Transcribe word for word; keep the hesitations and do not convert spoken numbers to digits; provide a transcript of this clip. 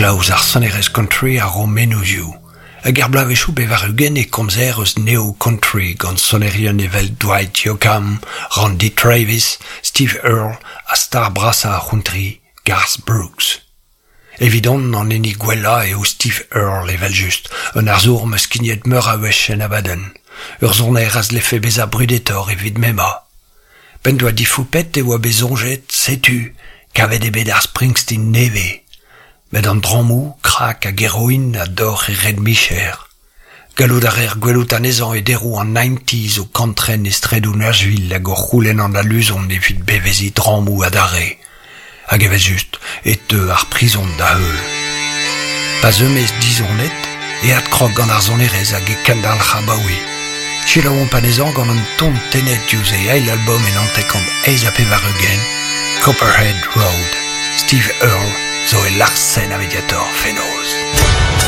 Riklañ ouzh ar sonerezh country a ro mennozhioù. Hag er bloavezhioù pevar-ugent e komzer eus neo-country gant sonerien evel Dwight Yoakam, Randy Travis, Steve Earle ha star brasañ ar c'hountry, Garth Brooks. Evidon an hini gwellañ eo Steve Earle evel-just, un arzour 'm eus skignet meur a wech en abadenn. Ur soner a zlefe bezañ brudetoc'h evit m'emañ. P'en doa difoupet e oa bet soñjet, setu, kavet eo bet ar Springsteen nevez. Met an drammoù, crack hag heroin a dorr e red-micher. Gallout a reer gwelout anezhañ e deroù an nineties o kantren e straedoù Nashville hag o c'houlenn an aluzon evit beveziñ drammoù adarre. Hag evel-just e teu ar prizon da heul. Pa zeu maez dizonet e adkrog gant ar sonerezh hag e kendalc'h abaoe. Selaouomp anezhañ gant un ton tennet diouzh e eil album en hanter-kant eizh ha pevar-ugent, Copperhead Road. Steve Earle zo e Larsen a Mediator fenoz.